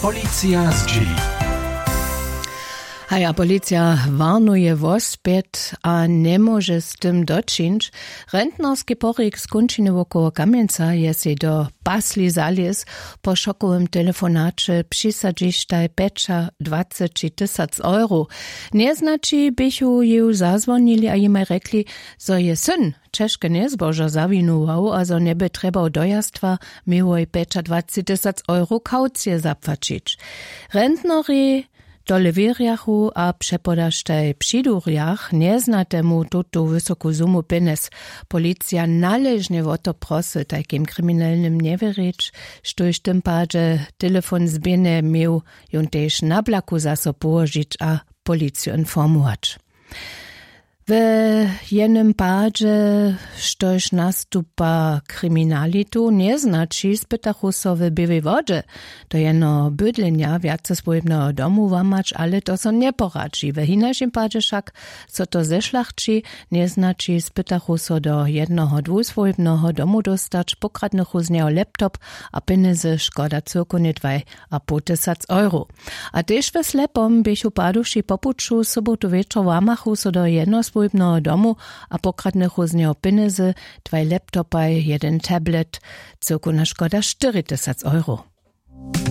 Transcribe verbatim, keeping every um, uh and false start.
Policija zdźěli. Haja, policija warnuje wospjet a njemóže z tym dočińć. Rentnerski porik z kónčiny wokoło kamjenca je sej do pasli zalěz. Po šokowym telefonaće přisadźištaj pjećadwaceći tysac euro. Njeznaći běchu jeju zazwonili a jimaj rjekli, zo je syn ćežke njezbožo zawinuwał a zo njeby trjebał dojaztwa, měłoj pjećadwaceći tysac euro kaucije zapłaćić. Rentnori tole wěrjachu a přepodaštaj přidurjach njeznatemu tutu wysoku sumu pjenjez. Policija naležnje wo to prosy tajkim kriminelnym njewěrić, štóž w tym padźe telefon zběhne měł, jón tež na blaku zaso połožić a policiju informować. We jenym padźe, štož nastupa kriminalitu njeznaći, spytachu so w běłej wodźe do jeno bydlenja wjace swójbneho domu łamać, ale to so njeporadźi. We hinašim padźe wšak so to zešlachći. Njeznaći spytachu so do jednoho dwuswójbneho domu dóstać pokradnychu z njeho laptop a pjenjezy škoda cyłkownje dwaj a poł tysac euro. A tež we slepom běchu paduši po puću sobotu wječor łamachu so do jednoswójbneho domu a pokradnychu z njeho pjenjezy, dwaj laptopaj, jedyn tablet, cyłkowna škoda štyri tysac euro.